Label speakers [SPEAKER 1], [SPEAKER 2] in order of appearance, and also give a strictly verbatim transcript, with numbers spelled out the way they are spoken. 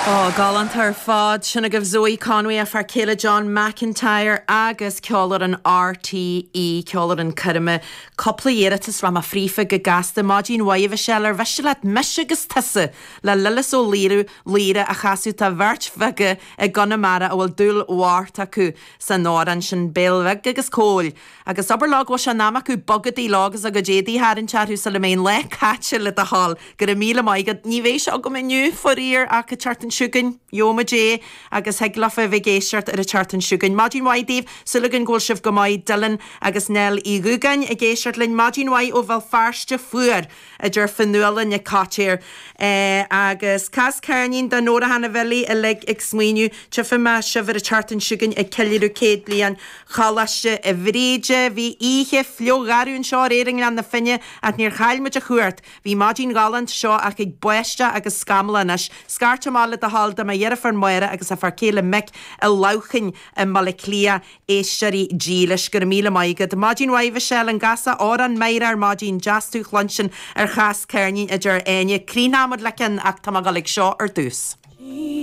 [SPEAKER 1] Ó galánta ar fad sin agaibh Zoe Conway a fear céile John McIntyre agus ceolfhoireann RTÉ ceolfhoireann coirme cúpla iarratas ra frífa go gasta maidin mhaith Michelle ar mhiste leat mise agus tusa le Lillis Ó Laoire Laoire a chasadh tá beirt bheaga i gConamara a bhfuil dúil mhór acu san amhrán sin Béal Bheag agus Cóil. Agus abair leo go bhfuil sé in am acu bogadaí lá agus a gcuid éadaí a tharraingt orthu sula mbeidh an lá caite le do thoil go raibh míle maith agat ní bheidh sé agam inniu faraor ach an tseachtain seo chugainn gheobhaimid é agus thig leofa bheith ag éisteacht ar an tseachtain seo chugainn. Maidin mhaith daoibh súil againn go bhfuil sibh go maith Dylan agus Nell Uí Dhúgáin ag éisteacht linn maidin mhaith ó Bhéal Feirste fuar idir Fionnuala Nic Coitir eh, agus cas ceirnín do Nóra Hanna Bhilí uilig ag smaoineamh tchífidh mé sibh ar an tseachtain seo chugainn ag ceiliúradh céad bliain Choláiste Bhríde bhí oíche fliuch anseo aréir i nGleann na Finne ach níor chaill muid a chuairt. Bhí maidin ghalánta seo ach ag báisteach agus scamall anois. Scairt amach le do thoil do mo dheirfiúr Máire agus a fear céile Mick i Leamhcán i mBaile Átha Cliath éisteoirí dílis go raibh míle maith agat. Maidin mhaith Michelle an gcasfá amhrán Máire ar maidin deas tú a chluinstin ar chas ceirnín idir Áine. Críochnóimid le ceann ach tá mé ag dul ag seo ar dtús.